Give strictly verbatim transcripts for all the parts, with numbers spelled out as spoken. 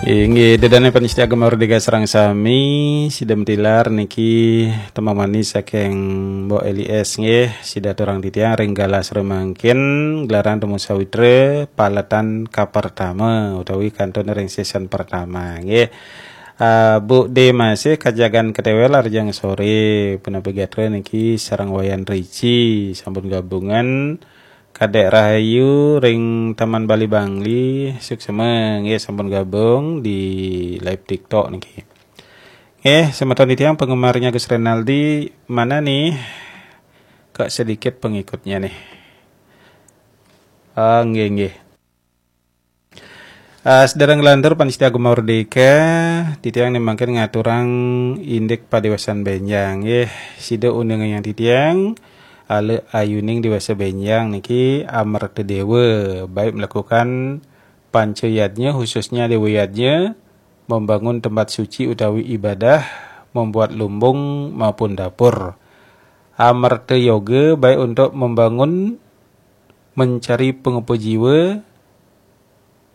Inggih, ida dané pamiarsa Gema Merdeka sareng sami, sida matilar niki tembang manis saking Mbok Eli S nggih, sida aturang titiang ring galah sore mangkin, gelaran Temu Sawitra, paletan kapertama, utawi kantun ring season pertama nggih. Ah, Bu D masih kajagan ketéwel arjang sore, punapa gatra niki sareng Wayan Rici, sampun gabungan, Kadek Rahayu ring Taman Bali Bangli, suksma nggih sampun gabung di live TikTok niki. Nggih, semeton titiang penggemarnya Gus Renaldi, mana nih? Kok sedikit pengikutnya nih. Ah, nggih, nggih. Ah, sedereng nglantur pamiarsa Gema Merdeka, titiang né mangkin ngaturang indik padéwasan bénjang nggih. Sida uningayang titiang, ala ayuning déwasa bénjang niki Amerta Déwa, baik melakukan panca yadnya, khususnya Déwa Yadnya, membangun tempat suci utawi ibadah, membuat lumbung maupun dapur. Amerta Yoga baik untuk membangun, mencari pengupa jiwa,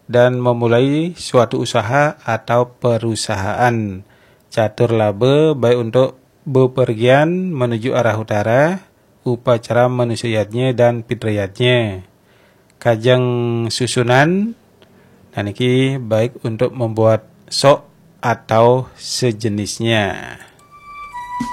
dan memulai suatu usaha atau perusahaan. Catur Laba baik untuk bepergian menuju arah utara, upacara manusia yadnya dan pitra yadnya. Kajeng Susunan, nah niki baik untuk membuat sok atau sejenisnya.